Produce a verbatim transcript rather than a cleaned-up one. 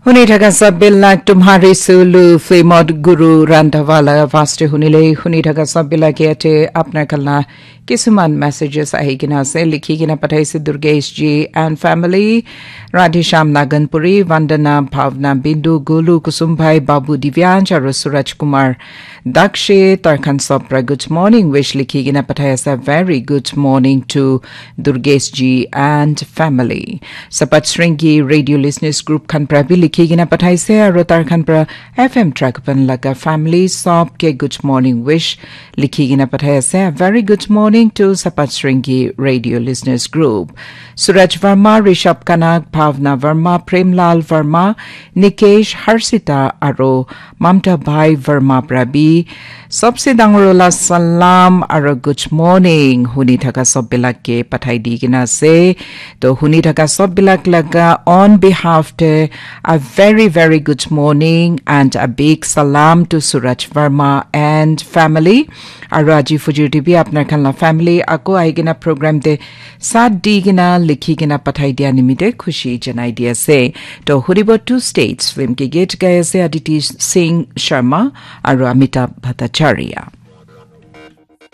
Huni thaka sab bilak Tumhari Sulu film ot Guru Randhawa laga vaste hunile, huni thaka sab bilak yate apnar khan la kisuman messages ahi kena ase, likhi kena pathaise Durgesh ji and family, Radhesham Naganpuri, Vandana, Bhavna, Bindu, Gulu, Kusum Bhai, Babu, Divyansh aru Suraj Kumar Dakshe, tar khan sob pra good morning wish likhi kena pathai ase. Very good morning to Durgesh ji and family. Sapat Sringi Radio Listeners Group khan pra bi likhi kena pathaise, aru tar khan pra F M Track Pan laga family sob ke good morning wish likhi kena pathai ase. A very good morning to Sapat Sringi Radio Listeners Group. Suraj Verma, Rishabh Kanak, Bhavna Verma, Premlal Verma, Nikesh, Harshita aru Mamta Bhai Verma pra bi sobse dangor wala salam aru good morning huni thaka sob bilak ke pathai di kena ase. To huni thaka sob bilak laga on behalf te a very, very good morning and a big salam to Suraj Verma and family. Aru aji fujur te bi apnar khan la family ako ahi kena program te sat di kena likhi kena pathai dia nimite khushi janai di ase. To huribo Two States film ke gate gai ase Aditi Singh Sharma aru Amitabh Bhattacharya.